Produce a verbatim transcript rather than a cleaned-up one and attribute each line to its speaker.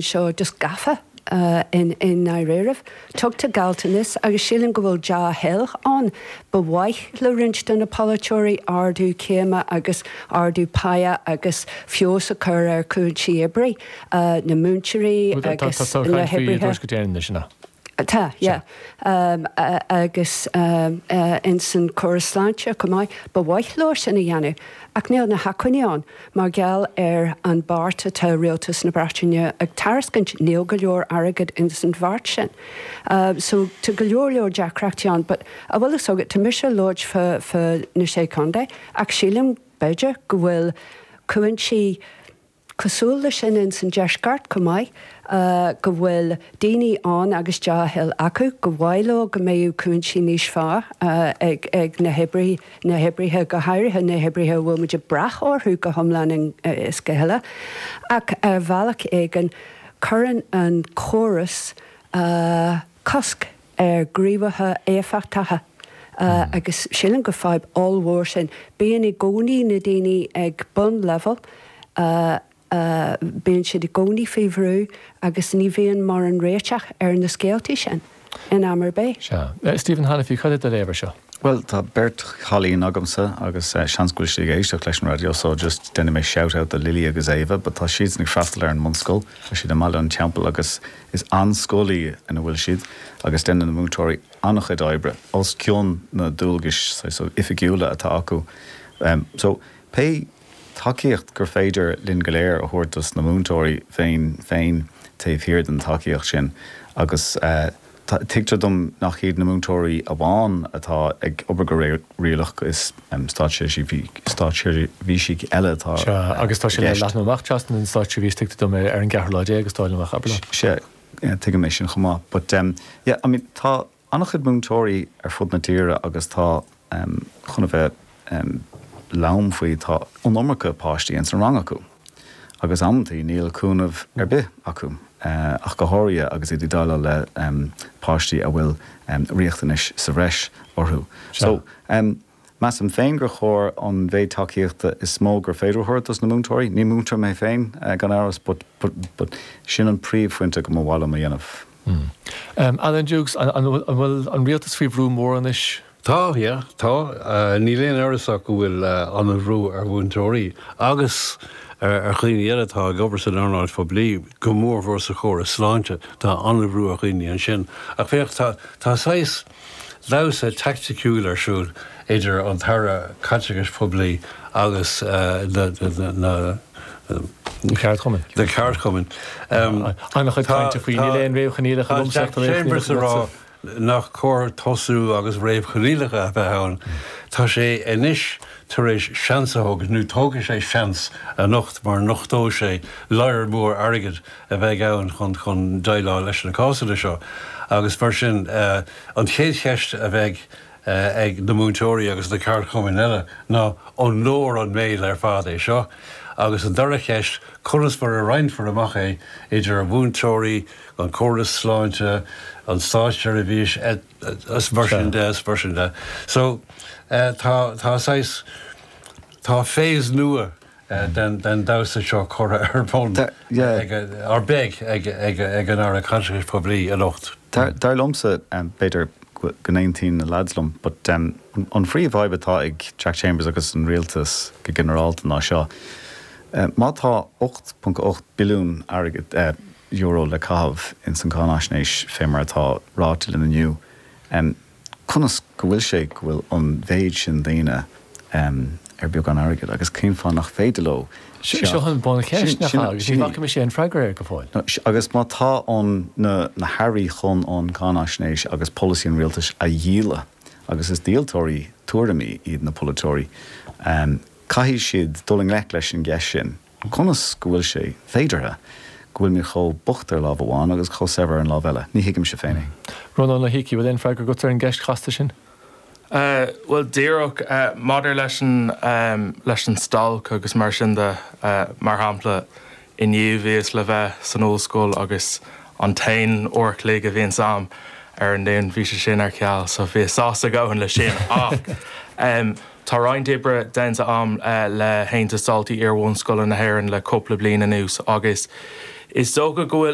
Speaker 1: seo just gafa uh, in in ndáiríribh. Tugtar gealltanas agus sílim go bhfuil dea-thoil ann ba mhaith le roinnt de na polaiteoirí ardú céime agus ardú páighe agus feabhas a chur ar chúinsí oibre uh, na múinteoirí agus na hoibrithe. Tá, yeah. Um, uh, agus um, uh, in san córas sláinte chomh maith ba mhaith leo sin a dhéanamh, ach níl na hacmhainní ann mar gheall ar an beart atá rialtas na Breataine ag tairiscint níl go leor airgead in san bheart sin. Uh, so tá go leor leor deacrachtaí ann, but a bhfuil fhios agat tá mise ag labhairt fá fá na sé chontae ach sílim b'fhéidir go bhfuil cúinsí cosúil leis sin in san deisceart chomh maith uh, go bhfuil daoine ann agus dea-thoil acu go mhaith leo go mbeadh cúinsí níos fearr uh, ag, ag na hoibrithe na hoibrithe go háirithe na hoibrithe a bhfuil muid ag brath orthu go hiomlán uh, is go huile. Ach ar bhealach éigin cuireann an córas uh, cosc ar ghníomhaithe éifeachtacha. Uh, mm. agus sílim go fadhb ollmhór sin bíonn i gcónaí na daoine ag bunlevel uh, uh, bíonn siad i gcónaí faoi bhrú agus ní bhíonn mar an réiteach ar na scéaltaí sin in am ar bith.
Speaker 2: Sea. Stephen Hanniffy cad é do léamh air seo.
Speaker 3: Well tá beirt chailín agamsa agus uh, seans go bhfuil siad ag éisteacht leis an radio so just déanfaidh mé shout out do Lily agus Ava, but tá siad ag freastal ar an mbunscoil, tá siad i mBaile an Teampaill agus is an-scoil í ina bhfuil siad agus déanann na múinteoirí an-chuid oibre os cionn na dualgais so oifigiúla atá acu. Um, so pé tacaíocht gur féidir linn go léir a thabhairt dos na múinteoirí féin féin taobh thiar den tacaíocht sin agus uh, tuigtear dom nach iad na múinteoirí amháin atá ag obair go réalach is um, státseirbhísigh eile atá
Speaker 2: agus tá sé le leathnú amach trasna an státseirbhís tuigtear dom ar an gceathrú lá déag agus dáileadh amach abair.
Speaker 3: Sé tuigim é sin chomh maith, but um, yeah, I mean, tá an-chuid múinteoirí ar fud na tíre agus tá um, chun a bheith um, lom faoi tá an iomarca páistí in san rang acu. Agus amantaí níl cúnamh ar bith acu. Uh, ach go háirithe agus iad ag déileáil le um, páistí a bhfuil um, riachtanais sa bhreis orthu. So um, Measaim féin gur chóir an mhéid tacaíochta is mó gur féidir a thabhairt dos na múinteoirí, ní múinteoir mé féin uh, gan amhras, but, but, but sin an príomhphointe go mba mhaith liom a dhéanamh.
Speaker 2: Mm. Um, Alan Dukes, an bhfuil an rialtas faoi bhrú mór anois?
Speaker 4: Tá, yeah, tá. Uh, níl aon amhras go bhfuil uh, an-bhrú ar mhúinteoirí agus ar dhaoine eile atá ag obair san earnáil phoiblí go mórmhór sa chóras sláinte tá an-bhrú ar dhaoine ansin. Ach féach tá tá saghas damhsa teaicticiúil ar siúl idir an tAire Caiteachais Phoiblí agus uh, na, na, na
Speaker 2: Ceardchumainn.
Speaker 4: Na ceardchumainn.
Speaker 2: An-chuid cainte faoi níl aon réamhchoinníollacha
Speaker 4: Chambers ag rá nach cóir tosú agus réamhchoinníollacha a bheith ann. Tá sé anois tar éis seans a thógáil nó tógfaidh sé seans anocht mar nochtóidh sé lear mór airgid a bheidh ann chun chun déileáil leis na cásanna seo. Agus mar sin uh, an chéad cheist a bheidh uh, ag na múinteoirí agus na ceardchumainn eile ná an leor an méid ar fad é seo. Agus an dara ceist conas mar a roinnfear amach é idir a mhúinteoirí, an córas sláinte, an státseirbhís is mar sin de is mar sin de. So uh, tá tá saghas tá phase nua uh, den den damhsa seo curtha ar bun ar beag ag ag ag an Aire Caiteachais Phoiblí anocht.
Speaker 3: Dar liomsa b'fhéidir go n-aontaíonn na lads liom, but um, an phríomhfhadhb atá ag Jack Chambers agus an rialtas go ginearálta ná seo. Uh, má tá ocht ponc ocht billiún airgead uh, euro le caitheamh in san cáinaisnéis fé mar atá ráite linn inniu. Um, conas go bhfuil sé go bhfuil an mhéid sin daoine um, ar beagán airgid agus cén fáth nach féidir leo
Speaker 2: Seo an buncheist nach agus ní bhfaca mise an freagra air go fóill.
Speaker 3: Agus má tá an na, na hairí chun an cáinaisnéis agus polasaí an rialtais a dhíoladh agus is díoltóirí tuairimí iad na polaiteoirí, um, caithfidh siad dul i ngleic leis an gceist sin. Conas go bhfuil sé féideartha go bhfuil muid chomh bocht ar lámh amháin agus chomh saibhir ar an lámh eile. Ní thuigimse féin é.
Speaker 2: Rónán Ó hIcí, bhfuil aon freagra agat ar an gceist chasta sin?
Speaker 5: Uh, well díreach uh, maidir leis an um, leis an stailc agus mar sin de uh, mar shampla inniu bhíos le bheith san ollscoil agus an t-aon uair a chloig a bhí agam ar an Luan bhí sé sin ar ceal, so bhí sásta gabhann le sin ach um, Tá roinnt oibre déanta agam uh, le hAontas Daltaí Iar-bhunscoile na hÉireann le cúpla bliain anuas agus Is dócha go bhfuil